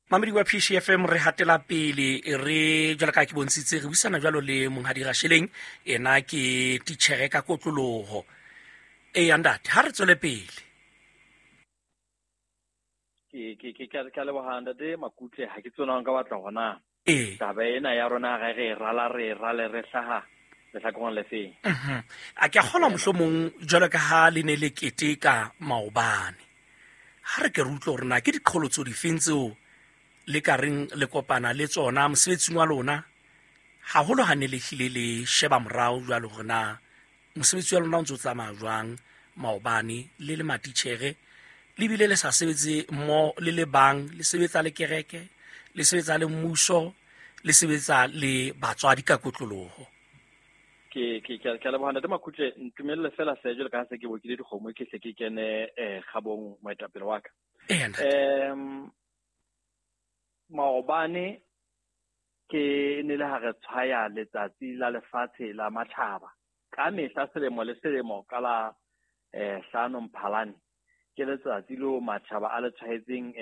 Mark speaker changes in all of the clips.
Speaker 1: Mamedi wa PCFM, re hatela pele, re jwalo ka ke bontshitse, re buisana jwalo le Monghadi Rasheleng, ena ke titjhere ka kotloloho. Eya ntate, ha re tswele pele.
Speaker 2: Ke a leboha, ntate Makutle. Ha ke tsona nka batla hona.
Speaker 1: Ee.
Speaker 2: Taba ena ya rona re re rala, re rale, re hlaha lehlakoreng le feng.
Speaker 1: A ke a kgolwa mohlomong jwalo ka ha le ne le keteka maobane. Ha re ke re utlwe hore na ke diqholotso difeng tseo le ka reng le kopana le tsona mosebetsing wa lona, haholo ha ne le hlile le sheba morao jwalo hore na mosebetsi wa lona o ntse o tsamaya jwang maobane le le matitjhere, le bile le sa sebetse mmoho le le bang, le sebetsa le kereke, le sebetsa le mmuso, le sebetsa le batswadi ka kotloloho.
Speaker 2: Ke a leboha, ntate Makutle. Ntumelle fela hle, jwalo ka ha se ke bokile dikgomo, ke hle ke kene kgabong, moetapele wa ka.
Speaker 1: Eya, ntate.
Speaker 2: Maobane ke ne le ha re tshwaya letsatsi la lefatshe la matjhaba. Ka mehla selemo le selemo ka la 5 Mphalane, ke letsatsi leo matjhaba a le tshwaetseng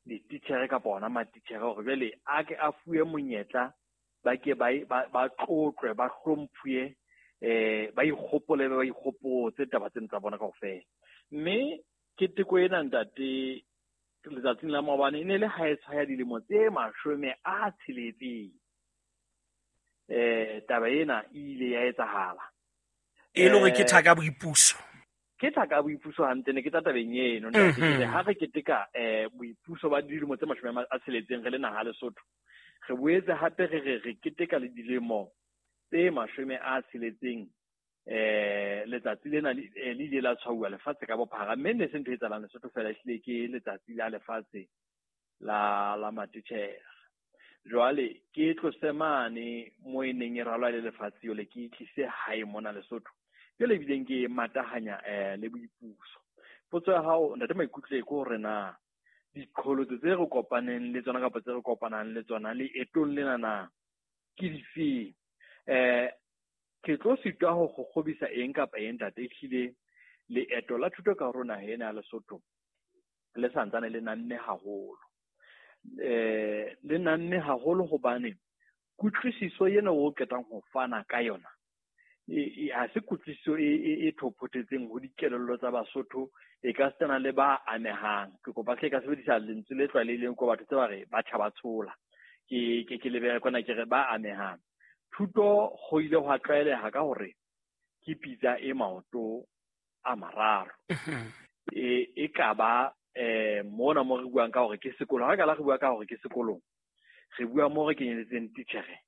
Speaker 2: dititjhere kapa ona matitjhere hore jwale a ke a fuwe monyetla, ba ke ba tlotlwe, ba hlomphuwe, ba ikgopole, ba ikgopotse taba tsena tsa bona kaofela. Mme keteko ena, ntate, letsatsing la maobane e ne le ha e tshwaya dilemo tse 60. Taba ena e ile ya etsahala.
Speaker 1: E le hore ke thaka boipuso.
Speaker 2: Ke thaka boipuso hantle, ne ke tla tabeng eno, ntate. Ke re ha re keteka boipuso ba dilemo tse 60 re le naha Lesotho, re boetse hape re re re keteka le dilemo tse 60, letsatsi lena le ile la tshwauwa lefatshe ka bophara, mme ne se ntho e etsahalang Lesotho fela, ehlile ke letsatsi la lefatshe la matitjhere. Jwale ke tlose mane mo e neng e ralwa le lefatshe jwale, ke tlise hae mona Lesotho, jwale ebileng ke matahanya le boipuso. Potso ya hao, ntate Maikutle, ke hore na diqholotso tse re kopaneng le tsona kapa tse re kopanang le tsona leetong lena na ke difeng? Ke tlo sitwa ho kgokgobisa eng kapa eng, ntate. Ehlile leeto la thuto ka hare ho naha ena ya Lesotho le santsane le namme haholo. Le namme haholo hobane kutlwisiso ena o qetang ho fana ka yona ha se kutlwisiso e thophothetseng ho dikelello tsa Basotho, e ka sitana le ba amehang. Ke kopa hle ka sebedisa lentswe le tlwaelehileng ko batho tse ba re batjha ba tshola. Ke lebe kwana ke re ba amehang. Thuto ho ile hwa tlwaeleha ka hore ke pitsa e maoto a mararo. E ka ba mona mo re buang ka hore ke sekolo. Ha re ka la re bua ka hore ke sekolong, re bua mo re kenyeletseng titjhere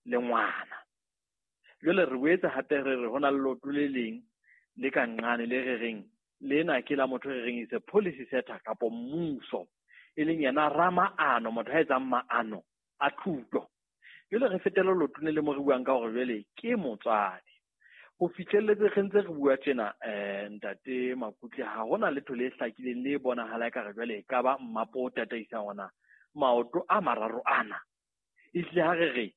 Speaker 2: le ngwana. Jwale re boetse hape re re ho na le leoto le leng le ka nqane le re reng lena ke la motho re reng is a policy setter kapo mmuso, e leng yena ramaano, motho a etsang maano a thuto. Jwale re fetela leotong le le mo re buang ka hore jwale ke motswadi. Ho fihlelletse re ntse re bua tjena, ntate Makutle, ha hona letho le hlakileng le bonahala ekare jwale e ka ba mmapo o tataisang ona maoto a mararo ana. Ehlile ha re re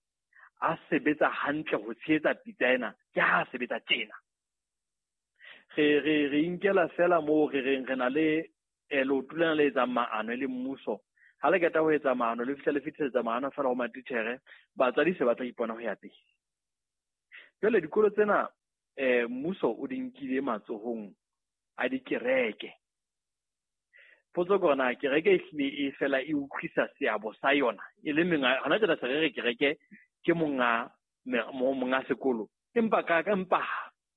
Speaker 2: a sebetsa hantle ho tshehetsa pitsa ena, ke ha a sebetsa tjena. Re inkela fela moo re reng re na le leoto lena le etsang maano e le mmuso. Ha le qeta ho etsa maano, le fihla le fetisetsa maano fela ho matitjhere, batswadi se ba tla ipona ho ya pele. Jwale dikolo tsena, mmuso o di nkile matsohong a dikereke. Potso ke hore na kereke e hlile e fela e utlwisa seabo sa yona e le menga, hona tjena se re re kereke ke monga sekolo, empa ka, ka, empa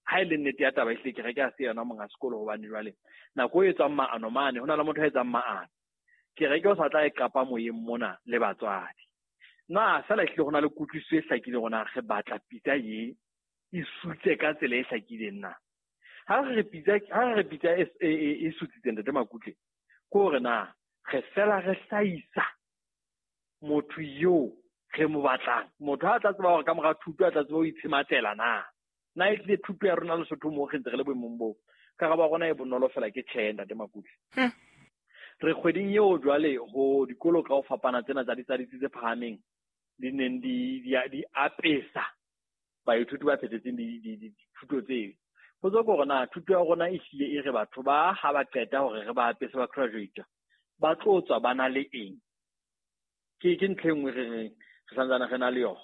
Speaker 2: ha e le nnete ya taba ehlile kereke ha se yona monga sekolo, hobane jwale nako e etswang maano mane ho na le motho a etsang maano, kereke o sa tla e qapa moyeng mona le batswadi. Na fela ehlile ho na le kutlwisiso e hlakileng hore na re batla pitsa e e sutse ka tsela e hlakileng na? Ha re re pitsa, ha re re pitsa e, e, e, e sutsitseng, ntate Makutle, ke hore na re fela re hlahisa motho eo re mo batlang, motho a tla tseba hore ka mora thuto a tla tseba ho itshematlela na. Na e tlile thuto ya rona Lesotho moo re ntse re le boemong boo? Karabo ya rona e bonolo fela ke tjhe, ntate Makutle. Re kgweding eo jwale ho dikolo ka ho fapana tsena tsa ditsi tse phahameng di neng di apesa baithuti ba phethetseng dithuto tseo. Potso ke hore na thuto ya rona e hlile e re batho ba ha ba qeta hore re ba apese ba graduate, Ba tlo tswa ba na le eng? Ke ntho e nngwe re reng re santsane re na le yona.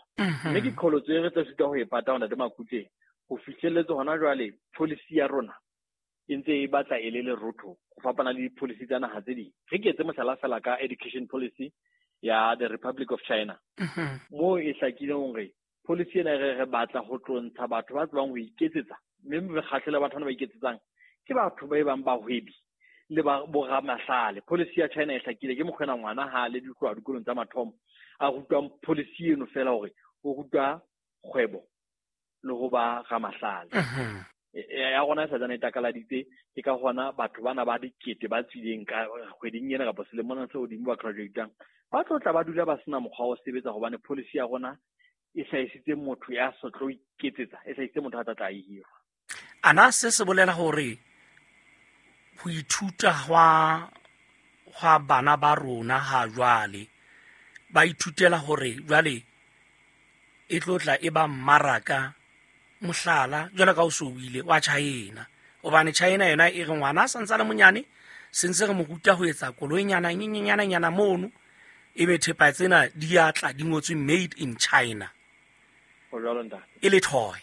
Speaker 2: Mme ke qholotso e re tla sitwa ho e pata hona Ntate Makutleng. Ho fihlelletse hona jwale policy ya rona e ntse e batla e le lerotho ho fapana le di-policy tsa naha tse ding. Re ke etse mohlala fela ka education policy ya the Republic of China. Moo e hlakileng hore policy ena re batla ho tlo ntsha batho ba tsebang ho iketsetsa, mme mekgatlo le batho bana ba iketsetsang ke batho ba e bang bahwebi le ba boramahlale. Policy ya China e hlakile, ke mokgwa ena ngwana ha le ditloha dikolong tsa mathomo a rutwang policy eno fela hore o rutwa kgwebo le ho ba ramahlale. Ya rona e sa tsane e takaladitse, ke ka hona batho bana ba dikete ba tswileng ka kgweding ena kapa selemong se hodimo ba graduatang ba tlo tla ba dula ba sena mokgwa wa ho sebetsa, hobane policy ya rona e hlahisitse motho ya sa tlo iketsetsa, e hlahisitse motho a tla tla hirwa.
Speaker 1: Ana se se bolela hore ho ithuta hwa bana ba rona ha jwale ba ithutela hore jwale e tlo tla e ba mmaraka, mohlala jwalo ka o so buile wa China, hobane China yona e re ngwana a santse a le monyane se ntse re mo ruta ho etsa koloinyana nyenyana mono, ebe thepa tsena di a tla di ngotswe made in China.
Speaker 2: Ho jwalo ntate.
Speaker 1: E le toy.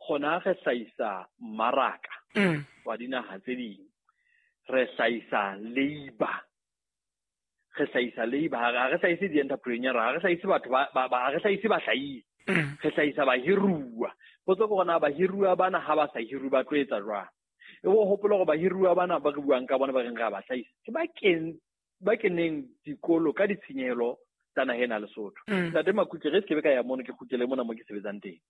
Speaker 2: Hona re hlahisa mmaraka wa dinaha tse ding, re hlahisa labor, re hlahisa labor, ha re hlahise di-entrepreneur, ha re hlahise batho ba ha re hlahise bahlahisi, re hlahisa bahiruwa. Potso ke hore na bahiruwa bana ha ba sa hiruwe ba tlo etsa jwang? E bo hopola hore bahiruwa bana ba re buang ka bona ba reng re a ba hlahisa, ke ba keneng dikolo ka ditshenyehelo tsa naha ena Lesotho. Ntate Makutle, re se ke be ka ya mono, ke kgutlele mona mo ke sebetsang teng.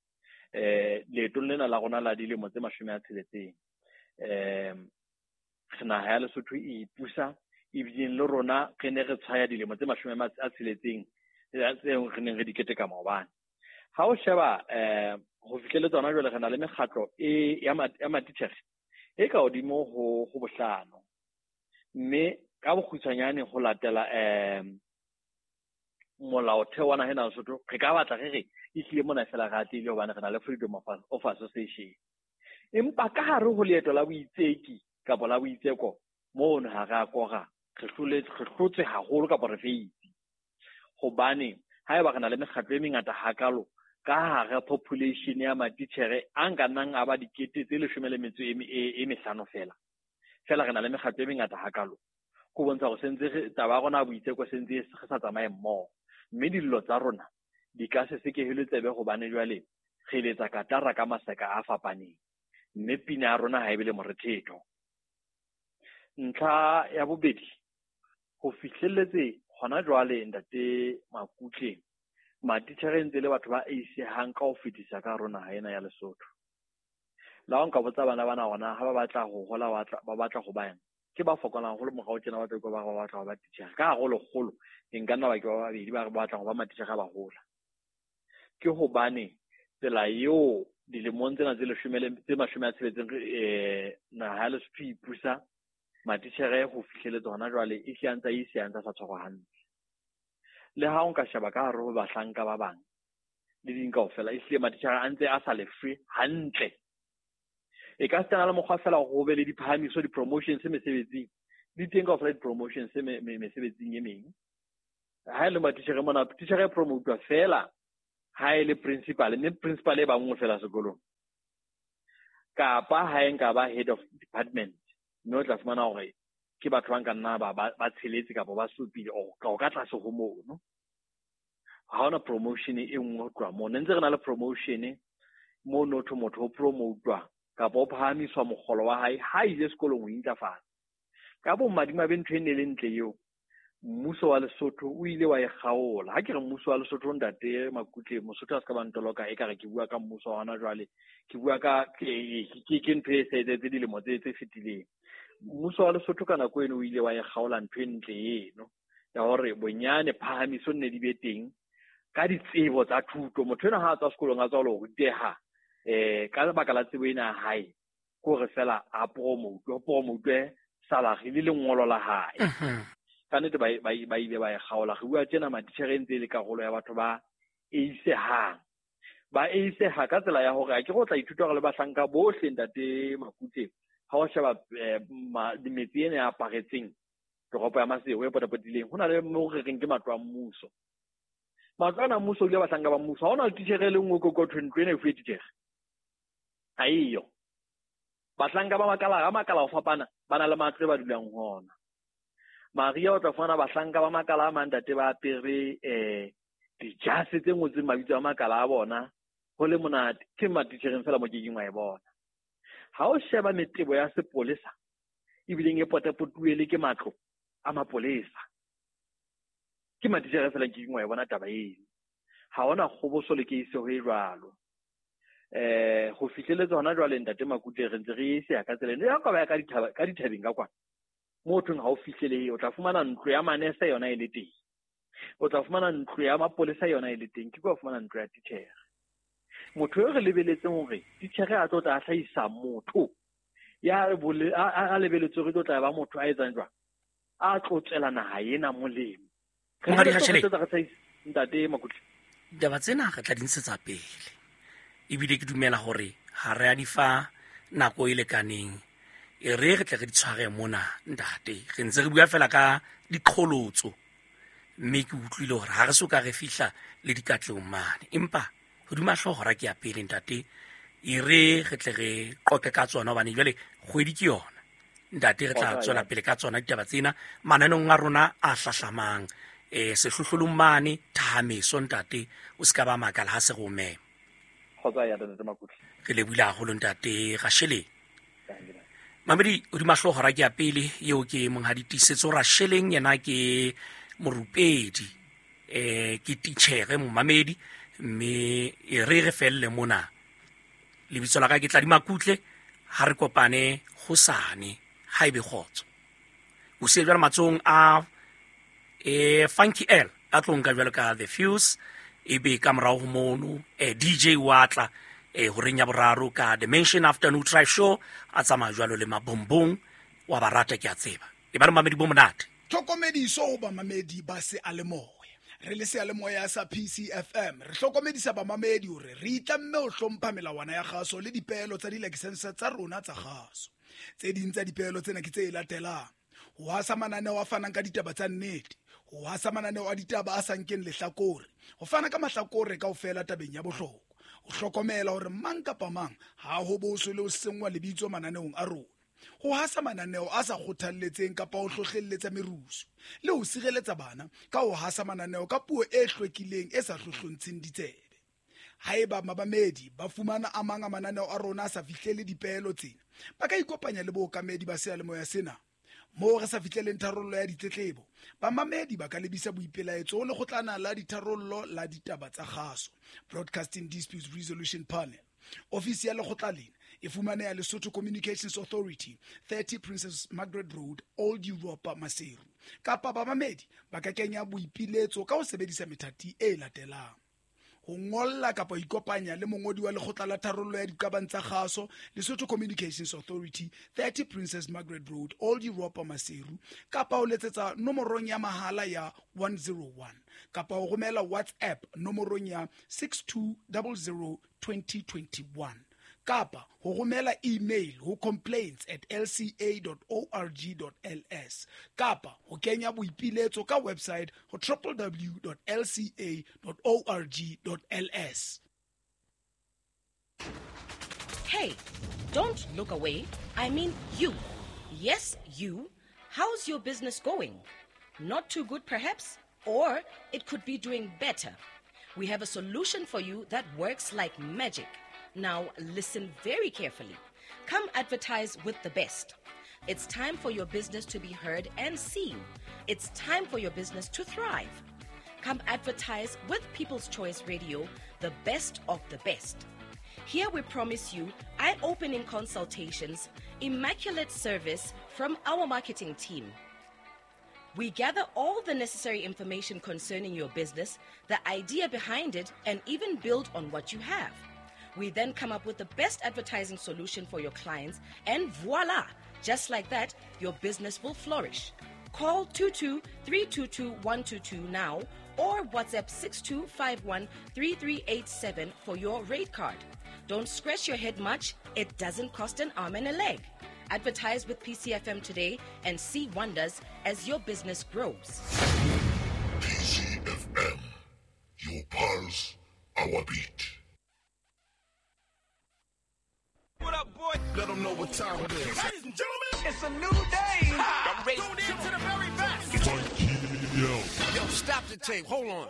Speaker 2: Leetong lena la rona la dilemo tse 60, re naha ya Lesotho e ipusa, ebileng le rona re ne re tshwaya dilemo tse 60 tseo re neng re di keteka maobane. Ha o sheba ho fihlele tsona jwale re na le mekgatlo e ya matitjhere e ka hodimo ho bohlano, mme ka bokgutshwanyane ho latela molaotheo wa naha ena Lesotho, re ka batla re re ehlile mona fela re atlehile hobane re na le freedom of association. Empa ka hare ho leeto la boitseki kapa la boitseko mono ha re a kora, re hlotse haholo kapa re feitse. Hobane haeba re na le mekgatlo e mengata hakalo ka hare population ya matitjhere a nka nnang a ba 15,000 fela, fela re na le mekgatlo e mengata hakalo, ko bontsha hore sentse re taba ya rona ya boitseko sentse re sa tsamaye mmoho, mme dillo tsa rona di ka se sekehelwe tsebe hobane jwale re letsa katara ka maseka a fapaneng, mme pina ya rona ha e be le morethetho. Ntlha ya bobedi, ho fihlelletse hona jwale Ntate Makutle, matitjhere ntse le batho ba eisehang ka ho fetisa ka hare ho naha ena ya Lesotho. La ho nka botsa bana bana hona ha ba batla ho hola, ba batla ho ba eng, ke ba fokolang haholo morao tjena ba tla utlwa ba re ba batla ho ba titjhere. Ka hare ho lekgolo, e nka nna ba ke ba babedi ba re ba batla ho ba matitjhere ha ba hola. Ke hobane tsela eo dilemong tsena tse 60 naha ya Lesotho e ipusa, matitjhere ho fihlelletse hona jwale e hle a ntse a ise a ntse a sa tshwarwa hantle. Le ha o nka sheba ka hare ho bahlanka ba bang le ding kaofela, ehlile matitjhere a ntse a sa lefwe hantle. E ka sitana le mokgwa fela hore ho be le diphahamiso, di-promotions mesebetsing. Di teng kaofela di-promotions mesebetsing e meng. Ha e le matitjhere mona, titjhere e promotwa fela ha e le principal, mme principal e ba nngwe fela sekolong. Kapa ha e nka ba head of department, mme o tla fumana hore ke batho ba nka nna ba tsheletse kapa ba supile or ka tlase ho mono. Ha hona promotion e nngwe ho tloha mono. Ntse re na le promotion mono thwe motho o promotwa kapa o phahamiswa mokgolo wa hae ha ile sekolong ho intlafatsa. Ka bomadimabe ntho e ne le ntle eo, mmuso wa Lesotho o ile wa e kgaola. Ha ke re mmuso wa Lesotho, Ntate Makutle, Mosotho a se ka ba ntoloka ekare ke bua ka mmuso wa hona jwale, ke bua ka ke ntho e sa etsahetse dilemo tse fetileng. Mmuso wa Lesotho ka nako eno o ile wa e kgaola ntho e ntle eno ya hore bonyane phahamiso nne di be teng ka ditsebo tsa thuto. Motho enwa ha a tswa sekolong a tswa ho ruteha, ka lebaka la tsebo ena ya hae, ke hore fela a promote, promote salary le lengolo la hae. Ka nnete ba ile ba e kgaola. Re bua tjena matitjhere e ntse e le karolo ya batho ba eisehang. Ba eiseha ka tsela ya hore a ke re o tla ithuta hore le bahlanka bohle Ntate Makutle, ha o sheba metsi ena e aparetseng Toropo ya Maseru e potapotileng, ho na le mo re reng ke matlo a mmuso. Matlo ana a mmuso o dula bahlanka ba mmuso. Ha hona le titjhere e le nngwe ko thwe ntlo ena e fuwe titjhere. Ha eyo. Bahlanka ba makala a makala ho fapana ba na le matlo e ba dulang ho ona. Maria o tla fumana bahlanka ba makala a mang ntate ba apere dijase tse ngotsweng mabitso a makala a bona, ho le monate. Ke matitjhereng fela mo kekeng wa e bona. Ha o sheba metebo ya sepolesa ebileng e potapotuwe le ke matlo a mapolesa, ke matitjhere fela nkekeng wa e bona taba eno. Ha hona kgoboso le keiseho e jwalo. Ho fihleletse hona jwale ntate Makutle re ntse re se ya ka tsela eno. Ya ka ba ya ka dithaba, ka dithabeng ka kwana. Mo thweng ha o fihlelehe, o tla fumana ntlo ya manese yona e le teng. O tla fumana ntlo ya mapolesa yona e le teng. Ke kwa fumana ntlo ya titjhere. Motho eo re lebeletseng hore titjhere a tlo tla hlahisa motho ya a lebeletse hore tlo tla ba motho a etsang jwang, a tlo tswela naha ena molemo.
Speaker 1: Monghadi Rasheleng.
Speaker 2: Ntate Makutle.
Speaker 1: Ditaba tsena re tla di ntshetsa pele. Ebile ke dumela hore ha re a di fa nako e lekaneng. E re re tle re di tshware mona ntate. Re ntse re bua fela ka diqholotso. Mme ke utlwile hore ha re so ka re fihla le dikatlehong mane. Empa hodima hlooho hora ke ya pele ntate. E re re tle re qoqe ka tsona hobane jwale kgwedi ke yona. Ntate re tla tswela pele ka tsona ditaba tsena mananeong a rona a hlahlamang. Sehlohlolong mane thahameso ntate, o se ka ba makala ha se re o mema.
Speaker 2: Kgotsa ya ntate Makutle.
Speaker 1: Re lebohile haholo ntate Rasheleng. Mamedi hodima hlooho hora ke ya pele eo ke monghadi Tiisetso Rasheleng, yena ke morupedi, ke titjhere momamedi, mme e re re felle mona. Lebitso la ka ke Tladi Makutle, ha re kopane hosane ha ebe kgotso. O siye jwale matsohong a Funky L a tlo nka jwalo ka The Fuse, ebe ka morao ho mono DJ wa tla horeng ya boraro ka Dimension Afternoon Drive Show, a tsamaya jwalo le mabombong wa ba rata ke a tseba. E ba le mamedi bo monate.
Speaker 3: Tlhokomediso ho bamamedi ba seyalemoya. Re le seyalemoya sa PCFM re hlokomedisa bamamedi hore re itlamme ho hlompha melawana ya kgaso le dipeelo tsa dilakesense tsa rona tsa kgaso. Tse ding tsa dipeelo tsena ke tse latelang: ho hasa mananeo a fanang ka ditaba tsa nnete, ho hasa mananeo a ditaba a sa nkeng lehlakore, ho fana ka mahlakore kaofela tabeng ya bohlokwa, ho hlokomela hore mang kapa mang ha ho boswe le ho senngwa lebitso mananeong a rona, ho hasa mananeo a sa kgothalletseng kapa ho hlohlelletsa merusu, le ho sireletsa bana ka ho hasa mananeo ka puo e hlwekileng e sa hlohlontsheng ditsebe. Haeba mabamedi ba fumana a mang a mananeo a rona a sa fihlele dipeelo tsena, ba ka ikopanya le bookamedi ba seyalemoya sena. Moo re sa fihleleng tharollo ya ditletlebo, bamamedi ba ka lebisa boipelaetso ho lekgotlana la ditharollo la ditaba tsa kgaso, Broadcasting Disputes Resolution Panel. Ofisi ya lekgotla lena e fumaneha Lesotho Communications Authority, 30 Princess Margaret Road, Old Europa, Maseru. Kapa bamamedi ba ka kenya boipiletso ka ho sebedisa methati e latelang: ho ngolla kapa ho ikopanya le mongodi wa lekgotla la tharollo ya diqabang tsa kgaso, Lesotho Communications Authority, 30 Princess Margaret Road, Old Europa, Maseru, kapa ho letsetsa nomorong ya mahala ya 101, kapa ho romela WhatsApp nomorong ya 6200 2021, kapa ho romela email ho complaints@lca.org.ls, kapa ho kenya boipiletso ka website ho www.lca.org.ls.
Speaker 4: Hey, don't look away. I mean you. Yes, you. How's your business going? Not too good, perhaps? Or it could be doing better. We have a solution for you that works like magic. Now, listen very carefully. Come advertise with the best. It's time for your business to be heard and seen. It's time for your business to thrive. Come advertise with People's Choice Radio, the best of the best. Here we promise you eye-opening consultations, immaculate service from our marketing team. We gather all the necessary information concerning your business, the idea behind it, and even build on what you have. We then come up with the best advertising solution for your clients, and voila! Just like that, your business will flourish. Call 22-322-122 now or WhatsApp 6251-3387 for your rate card. Don't scratch your head much. It doesn't cost an arm and a leg. Advertise with PCFM today and see wonders as your business grows.
Speaker 5: PCFM, your pulse, our beat.
Speaker 6: What up, boy?
Speaker 5: Let them know what time it is.
Speaker 6: Ladies and gentlemen, it's a new day. I'm ready. Tune in to the very best.
Speaker 5: Yo,
Speaker 6: stop the tape. Hold on.